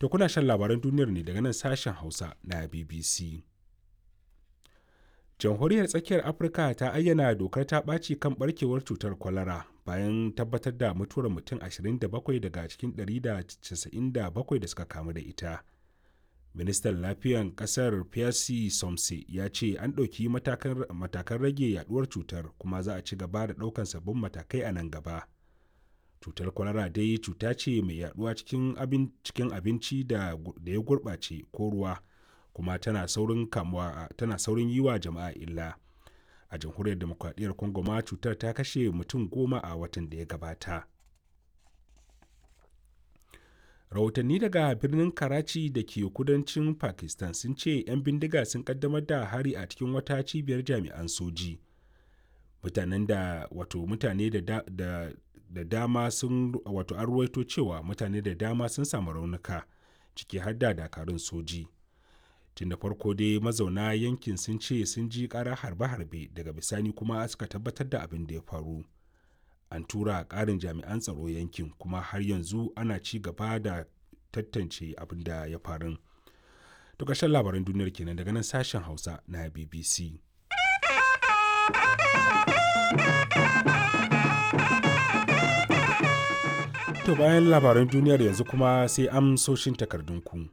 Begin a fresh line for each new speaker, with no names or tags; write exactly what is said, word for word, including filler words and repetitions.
To kuna shan labaran duniyar ne daga nan sashen Hausa na B B C. Jamhuriyar Tsakiyar Afirka ta ayyana dokar ta ɓaci kan barkewar cutar kwalara bayan tabbatar da mutuwar mutum ashirin da bakwai daga cikin ɗari da casa'in da bakwai da suka kamu da ita. Ministan Lafiyan ƙasar Pierre Somse ya ce an ɗauki matakan rage yaduwar cutar kuma za a ci gaba da ɗaukan sabbin matakai a nan gaba. Cutar kwalara dai cuta ce mai yaduwa cikin cikin abinci da ya gurɓace ko ruwa, kuma tana saurin kamuwa, tana saurin yi wa jama'a illa. A Jamhuriyar Demokradiyyar Congo ma cutar ta kashe mutum goma a watan da ya gabata. Rahotanni daga birnin Karachi da ke kudancin Pakistan sun ce 'yan bindiga sun kaddamar da hari a cikin wata cibiyar jami'an soji. Mutanen da wato mutane da, da, da dama sun wato an ruwaito cewa mutane da dama sun samu raunuka, ciki har da dakarun soji. Tun da farko dai mazauna yankin sun ce sun ji ƙarar harbe-harbe, daga bisani kuma suka tabbatar da abin da ya faru. An tura ƙarin jami'an tsaro yankin kuma har yanzu ana ci gaba da tantance abin da ya faru. To ƙarshen labaran duniyar kenan daga nan sashen Hausa na B B C. To bayan labaran duniyar yanzu kuma sai amsoshin takardunku.